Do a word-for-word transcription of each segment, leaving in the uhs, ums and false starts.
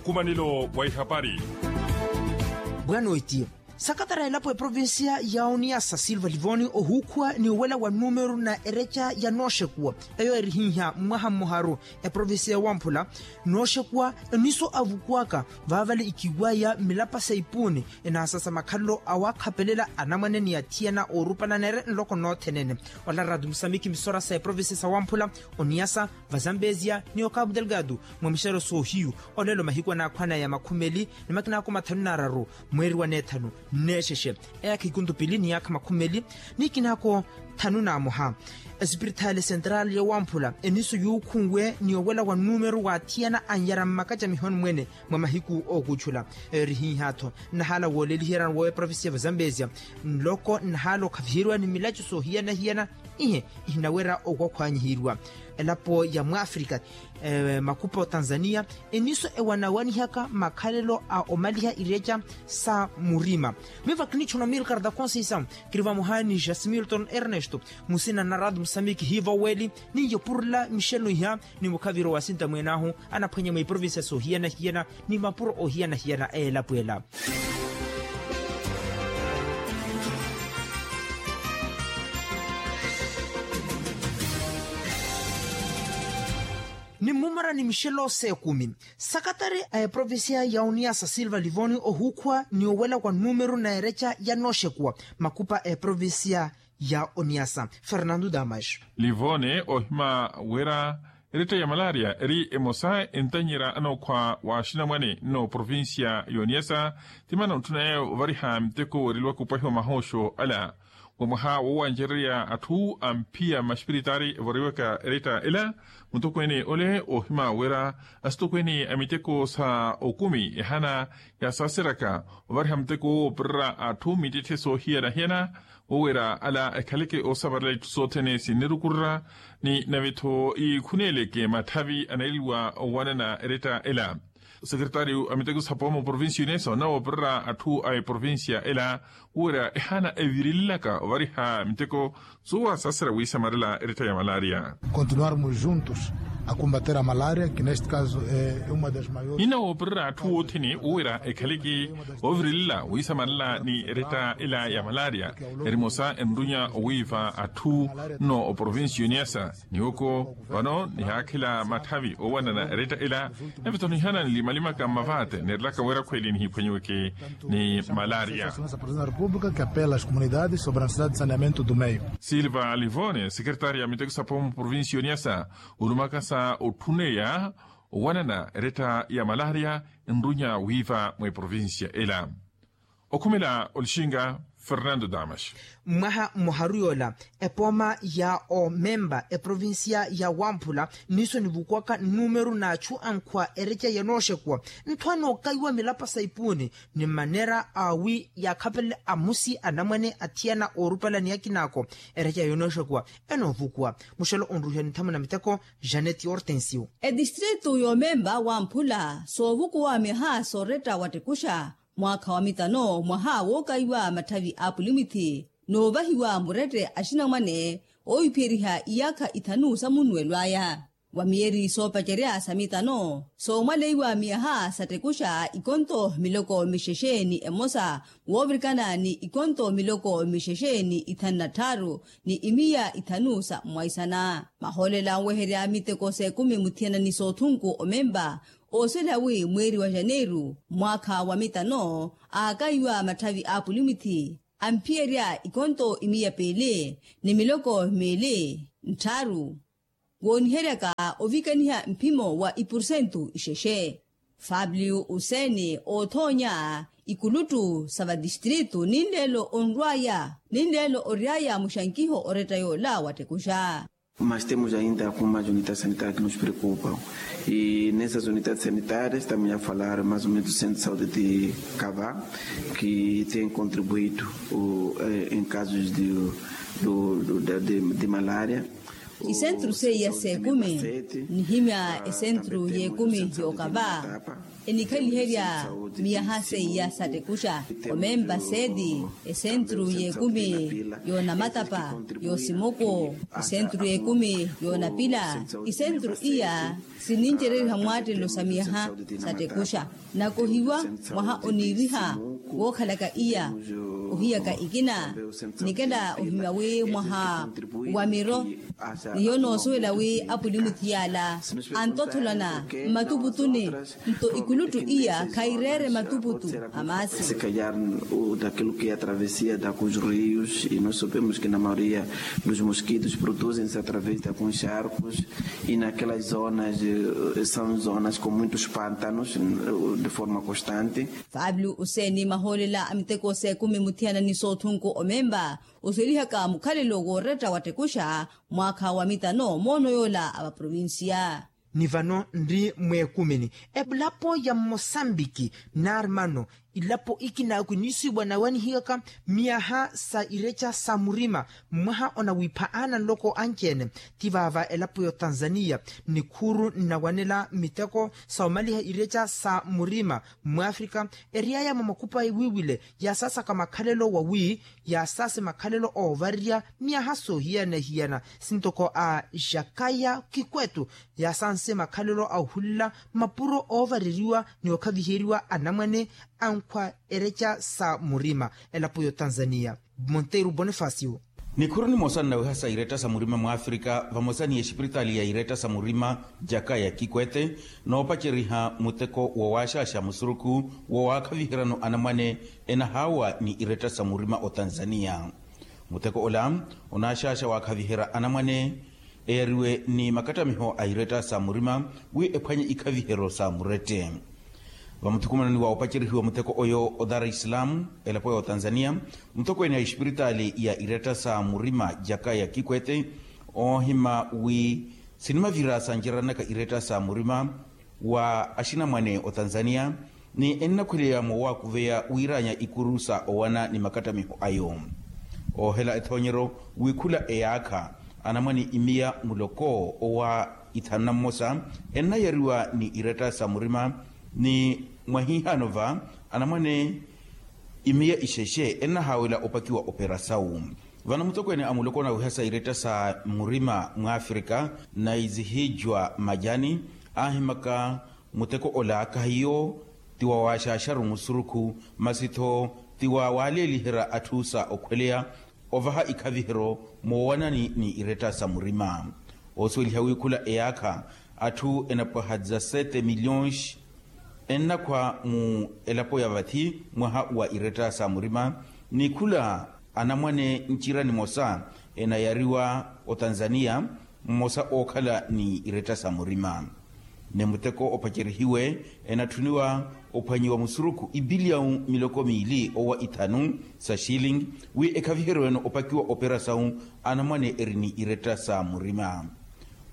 Khumanelo wa ihapari. Bwana oitiyo, sakatara elapo eprovincia ya oniasa silva livoni ohuukhuwa ni owela wa numeru na ereca ya nooxekuwa, eyo erihiiha mwaha mmoharu. Eprovincia ya wamphula nooxekuwa eniso avukuwaka vaavale ikiwaya milapa sa ipuuni, enaasasa makhalelo awaakhapelela anamwane ni athiyana oorupala neere nloko noothenene. Ola ratu musamikhi misora sa eprovincia sa wamphula, oniasa, vazambezia ni okabu delgado, mwa mixero soohiyu. Olelo mahiku anaakhwana ya makhumeli ni makinaako mathanu n'araru, mweeri wa neethanu, nneexexe, eyaakha ikuntu pili ni yaakha makhumeli ni kinaako thanu n'amoha. Esipirithali sentrali ya wamphula eniso yuukhunwe ni owela wa numeru wa athiyana anyara mmakacamihoni mwene mwa mahiku ookuchula. Eyo erihiiha-tho nnahaala wooleliheryana woowa eprovincia ya vazambezia, nloko nnahaala okhaviheriwa ni milaco soohiyana-hiyana, ihe ihinawerya okwakhwanyiheriwa. Elapo ya mwafrika, makhupa otanzania, eniso ewanawanihaka makhalelo a omaliha ireca sa murima. Miva kinichona milkarta conceição, kiri vamoha ni jasmilton ernesto, musina na ratu musamiki hiiva oweli, niyo purula mixelo iha ni mukhaviro wa sinta mwene ahu anaphwanya mwa iprovincia soohiyana-hiyana ni mapuro ohiyana-hiyana a elapo ela. Ni mmumara ni mixelo s'ekumi, sakatari a eprovincia ya oniasa silva livoni ohuukhuwa ni owela wa numeru na ereca ya nooxekuwa, makupa a eprovincia ya oniasa fernando damas. Livone ohima wira eretta ya malaria eri emosa entanyera anookhwa wa axinamwane n'oprovincia y'oniasa, ti mana ontthuna yeeyo ovariha miteko weereliwaka opahiwa mahooxo ala. Wa mwaha woowancererya atthu amphiya mmaxipiritaari evoriwaka eretta ela, mutokweene ole oohima wira asitokweene a miteko sa okumi ehana yasaaseryaka ovariha muteko woowo opirira atthu mittitthe soohiyana-hiyana, woowira ala ekhaleke oosamarela itthu sothene sinnirukurira ni nave-tho ikhuneleke matthavi anaeliwa owanana eretta ela. Osekeretaariyu a miteko sa pooma oprovincia y'onesa onawoopirira atthu a eprovincia ela, woowira ehana evirililaka ovariha miteko soowasaasera wiisamarela eretta ya malaria. Continuarmos juntos a combater a malaria que neste caso é uma das maiores. Ninawoopirira atthu othene woowira ekhaleke oovirilela wiisamarela ni eretta ela ya malaria, erimosa enrunya owiiva atthu nno oprovincia y'oniasa. Niwoko vano nihaakhela matthavi oowanana eretta ela, nave-tho nihana nlimalimaka mmavaate neerelaka wira khweli nihiphwanyiweke ni malaria. Silva livone sekeretaari ya miteko sa pooma oprovincia y'oniasa, olumakasa otthuneya owanana eretta ya malaria nrunya wiiva mwa eprovincia ela. Okhumela olixinga fernando damas. Mwaha mmoharu yoola, epooma ya omemba eprovincia ya wamphula niso nivukuwaka nnumeru n'achu ankhwa ereca yanooxekuwa, ntthu anookaiwa milapa sa ipuuni ni mmanera awi yaakhapelela amusi anamwane athiyana oorupala ni akinaako. Ereca yanooxekuwa enoovukuwa. Muxelo onruhiwa ni nthamuna miteko janet hortensio. Etistritu y'omemba wamphula soovukuwa miaha sooretta wattekuxa mwaakha wa mitano mwaha wookaiwa matthavi a pulimwithi, noovahiwa murette axinamwane oohiphiyeriha iyaakha ithanu sa munnuwelo aya. Wa miyeeri soopacerya sa mitano soomwaleiwa miyaha sattekuxa ikonto miloko mixexe ni emosa, woovirikana ni ikonto miloko mixexe ni ithanu na tthaaru ni imiya ithanu sa mmwaisana. Mahoolela anweherya miteko s'ekumi muthiyana ni soothunku omemba oosela wi mweeri wa janeiru mwaakha wa mitano aakaiwa matthavi a pulimwithi, amphiyerya ikonto imiya piili ni miloko miili nttharu, wooniheryaka ovikaniha mphimo wa ipursentu ixexe. Fabliu useeni oothoonya ikuluttu sa vatistritu ninleelo onrw'aya ninleelo ory'aya muxankiho oretta yoola wattekuxa. Mas temos ainda algumas unidades sanitárias que nos preocupam. E nessas unidades sanitárias também a falar mais ou menos do centro de saúde de Cava, que tem contribuído em casos de malária. Isentru seiya s'ekumi nihimya esentru y'ekumi y'okava enikhaliherya miyaha seiya satekuxa. Omempa seti esentru y'ekumi y'onamatapa y'osimoko esentru y'ekumi y'onapila. Isentru iya sinincereriha mwaattelelo sa miyaha satekuxa. Nakohiwa mwaha oniiriha wookhalaka iya ohiyaka ikina nikela ohimya wi mwaha wa miro ni hiyo noosuwela wi apwili muthiyala antottholana mmatuputuni. Nto ikuluttu iya khaireere matuputu a maasi. Daquilo que é a travessia da cus rios e nós sabemos que na maioria dos mosquitos produzem-se através da cus charcos e naquelas zonas são zonas com muitos pántanos de forma constante. Fabio useeni mahoolela a miteko s'ekumi muthiyana ni soothunku omempa osuwelihaka mukhalelo wooretta wa tekuxa mwaakha wa mitano moono yoola a vaprovincia. Ni vano nri mweekumini elapo ya mmosambiki naari mano ilapo ikinaku iniisiwa nawanihiyaka miyaha sa ireca sa murima. Mwaha onawipha aana nloko anci-ene ti vaava elapo y'otanzaniya nikhuuru nnawanela miteko sa omaliha ireca sa murima. Mwafrika eriyaya mwa makhupa ewiiwile yaasaasaka makhalelo wawi yaasaase makhalelo oovarerya miyaha soohiyana-hiyana sintoko a jakaya kikwetu yaasanse makhalelo a ohulela mapuro oovareriwa ni okhaviheriwa anamwane ankhwa ereca sa murima. Elapo y'otanzaniya monteiro bonifacio. Nikhuru nimosa nnawiha sa iretta sa murima mwafrika vamosa ni exipiritaali ya iretta sa murima jakaya kikwete noopaceriha muteko wa waaxaaxa musurukhu wa waakhaviheryano anamwane enahaawa ni iretta sa murima otanzaniya. Muteko ola onaaxaaxa waakhaviherya anamwane eyariwe ni makattamiho a iretta sa murima wi ephwanye ikhaviheryo sa murette. Vamuthukumanoni wa opacerihiwa muteko oyo o dar es salaam elapo ya otanzaniya, mutokweene a exipiritaali ya iretta sa murima jakaya kikwete oohima wi sinimavira sanceryanaka iretta sa murima wa axinamwane otanzaniya ni ennakhweleya moowakuveya wiiraanya ikuru sa owana ni makattamiho ayo. Oohela ethoonyeryo wi khula eyaakha anamwane imiya muloko owa ithanu na mmosa ennayariwa ni iretta sa murima ni mwahiihano va anamwane imiya ixexe ennahaawela opakiwa operasawu. Vano mutokweene a muloko onawiha sa iretta sa murima mwafrika naizihijwa majani aahimaka muteko ola kahiyo ti wa waaxaaxaru musurukhu masi-tho ti wa waaleeliherya atthu sa okhweleya ovaha ikhaviheryo moowanani ni iretta sa murima. Oosuweliha wi khula eyaakha atthu enapwaha dezasete milhões ennakhwa mu elapo ya vathi mwaha wa iretta sa murima ni khula anamwane ncira nimosa enayariwa otanzaniya mmosa ookhala ni iretta sa murima. Ni muteko opacerihiwe enatthuniwa ophwanyiwa musurukhu ibiliyawu miloko miili owa ithanu sa xilingi wi ekhaviheryo eno opakiwa operasawu anamwane eri ni iretta sa murima.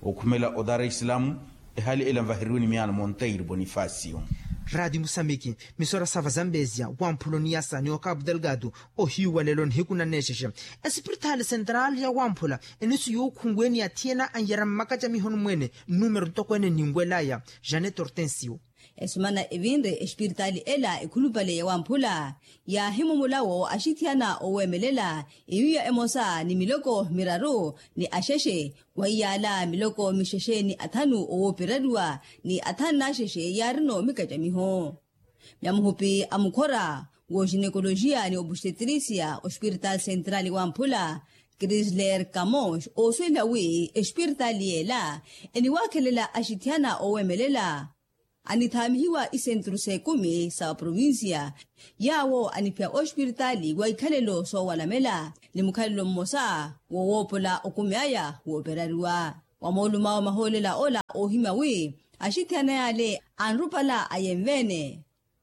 Okhumela o dar es salaam ehaali ela nvaheriwe ni miyaano monteiro bonifacio. Radi musamiki misora sava zambezia wamphula oniyasa ni okapu delgado ohiyu wa lelo nihiku nanneexexe. Esipiritaali sentraali ya wamphula enisu yuukhunweeni athiyana anyera mmakacamihoni mweene nnumero ntokweene ninwelaya janet hortensio. Esumana evinre espiritaali ela ekhulupale ya wamphula yaahimumula wo axithiyana oweemelela iwiya emosa ni miloko miraru ni axexe wa iyaala miloko mixexe ni athanu owooperariwa ni athanu n'axexe yaarino mikacamiho. Myamuhupi a mukhora w'oxinekolojiya ni obustetirisiya ospiritaali sentraali wamphula krisler kamos oosuweliha wi espiritaali yeela eniwaakhelela axithiyana oweemelela anithaamihiwa isentru s'ekumi sa vaprovinsiya yaawo aniphiya ospiritaali wa ikhalelo soowalamela ni mukhalelo mmosa wowoopola okumi aya wooperariwa. Wa moolumawo mahoolela ola oohimya wi axithiyana yaale anrupala ayenveene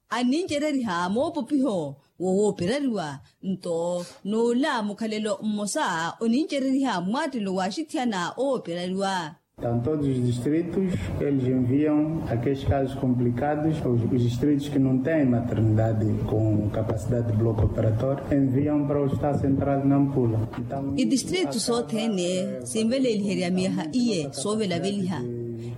annincereriha moopopiho wowooperariwa nto n'ola mukhalelo mmosa onincereriha mmwaattelo w'axithiyana owooperariwa. Tanto dos distritos, eles enviam aqueles casos complicados, os distritos que não têm maternidade com capacidade de bloco operatório enviam para o estado central de Nampula. Idistritu sothene sinveleeliherya miyaha iye soovelaveliha.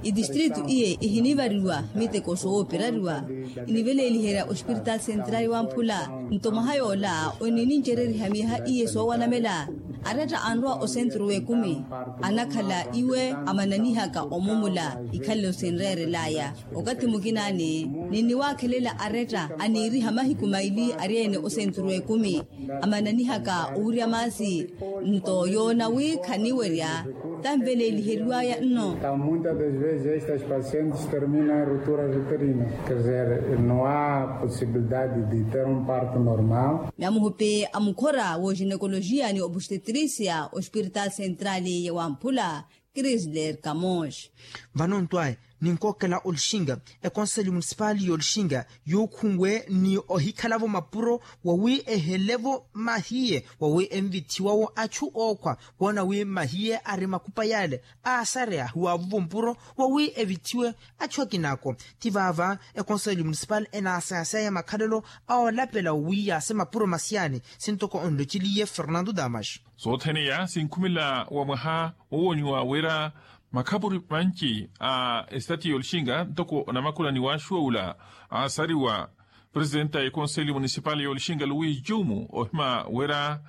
Idistritu iye ihinivariwa miteko soopirariwa. Iniveleeliherya ospiritaali sentrali wa mphula. Nto mwaha yoola oninincereriha miyaha iye soowanamela. Aretta anrowa osentru w'ekumi anakhala iwe amananihaka omumula. Ikhalelo sinreerel'aya okathi mukinaani ninniwaakhelela aretta aniiriha mahiku maili ari-ene osentru w'ekumi amananihaka owirya maasi. Nto yoona wi khaniwerya tanveleeliheriw'aya nno. Muitas das vezes estas pacientes terminam em rupturas uterinas. Quer dizer, não há possibilidade de ter um parto normal. Namuhupi a mukhora w'oginekolojiya ni obustetrisia ospiritaali sentrali ya wamphula crisler camosh. Vano ntwaye ninkookela olixinga ekonseli munisipali y'olixinga yuukhunwe ni ohikhala-vo mapuro wawi ehele-vo mahiye wawi envithiwa-wo achu ookhwa woona wi mahiye ari makupa yale aasareya hiwaavu-vo mpuro wawi evithiwe achu akina-ako. Ti vaava ekonseli munisipali enaasayaseya makhalelo a olapela wawi yaase mapuro masiyani sintoko onloceliye fernando damas. Sothene iya sinkhumela wa mwaha wowoniwa wira makhapuri manci a esitati y'olixinga ntoko onamakula ni waaxuwa ula aasariwa presidenta ya ekonseli munisipali y'olixinga luwis jumu ohima wira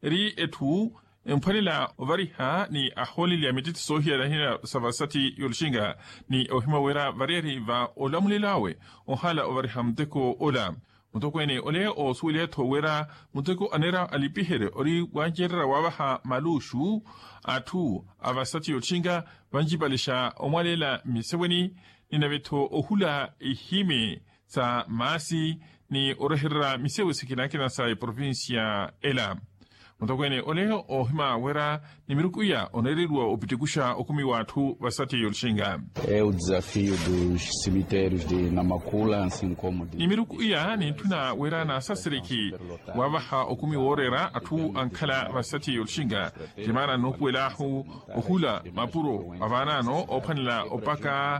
eri etthu emphwanela ovariha ni ahooleli a mititthi soohiyana-hiyana sa vasati y'olixinga ni ohima wira variyari va olamulelo awe ohala ovariha muteko ola. Mutokweene ole oosuweliha-tho wira muteko aneera alipiherye ori wancererya waavaha maluxu atthu a vasati y'ottinka vancipale xa omwaleela mmiseweni ni nave-tho ohula ihimi sa maasi ni orehererya misewe sikina-kina sa eprovincia ela. Mutokweene ole oohima wira ni miruku iya oneereriwa opitikuxa okumi w'atthu vasati y'ottinka. É o desafio dos cemitérios de namakula ansi nkomo de ni miruku iya nintthuna wira naasasiriki waavaha okumi wooreera atthu ankhala vasati y'ottinka. Timaana noopuwel'ahu ohula mapuro avaanaano oophwanela opaka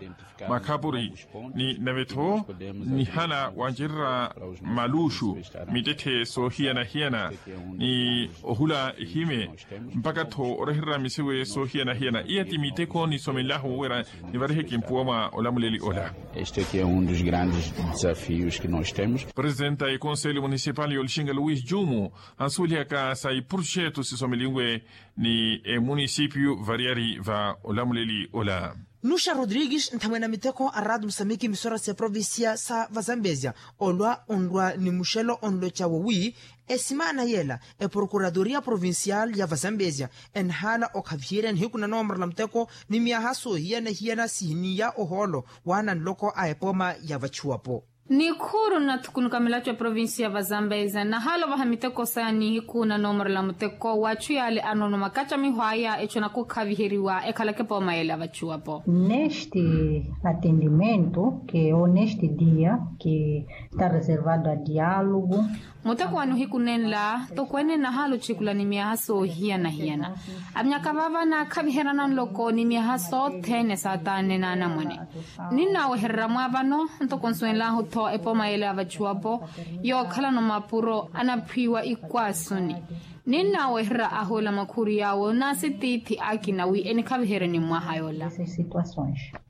makhapuri ni nave-tho nihala wancererya maluxu mittetthe soohiyana-hiyana ni ohula ihime mpaka-tho orehererya misewe soohiyana-hiyana iya ti miteko nisomelahu wira nivarihe kimpuwa mwa olamuleli ola. Este aqui é um dos grandes desafios que nós temos. Presidenta ya ekonseli munisipali y'olixinga luwis jumu ansuwelihaka sa iproxetu sisomelinwe ni emunisipio variyari va olamuleli ola. Nuxa rodrigues nthamwene a miteko a rato musamiki misora sa eprovincia sa vazambezia olwa onrwa ni muxelo onloca wowi esimaana yela eprokuradoria provincial ya vazambezia enhaala okhaviherya nihiku na noomorela muteko ni myaha soohiyana-hiyana sihiniya ohoolo waana nloko a epooma ya vachuwapo. Nikhuuru nnathukunuka milaco ya provincia ya vazambezia nahaala ovaha miteko saya nihiku na noomorela muteko w'achu yaale anoona omakacamiho aya echu anakukhaviheriwa ekhalaka epooma yeela ya vachuwapo. Neste atendimento que ou neste dia que está reservado a diálogo. Muteko wa nihiku nenla tokweene nahaala ochikula ni myaha soohiyana-hiyana. Amyaka vaava naakhaviheryana nloko ni myaha sothene saataanne n'anamwane. Ninnaawehererya mwa vano ntoko nsuwenlahu-tho epooma yeela ya vachuwapo yookhalana omapuro anaphwiiwa ikwaasuni. Ninnaawehererya ahoola makhuuri yaawo n'asitiithi akina wi enikhaviherye ni mwaha yoola.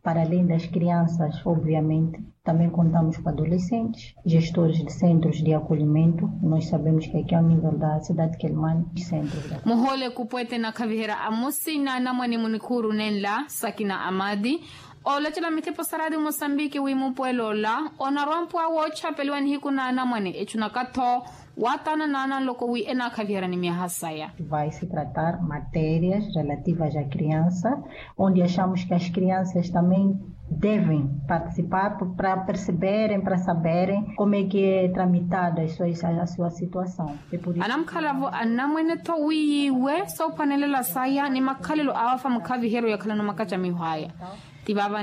Para além das crianças obviamente também contamos com adolescentes gestores de centros de acolhimento. Nós sabemos que aqui ao nível da cidade de quelimane centros da muhoole kupu ete nakhaviherya amusi n'anamwane munikhuuru nenla sakina amadi. Olacela mithipo sa radio mosambiki wi mupuwelo ola onarwa mpuwa woochapeliwa nihiku n'anamwane echu naka-tho waataana n'ananloko wi enaakhaviherya ni myaha saya. Vai se tratar matérias relativas a criança onde achamos que as crianças também devem participar para perceberem para saberem como é que é tramitado a sua situação. Anamukhala-vo anamwene-tho wi yiiwe soophwanelela saya ni makhalelo awafa mukhaviheryo yakhalana omakacamiho aya. Ti vaava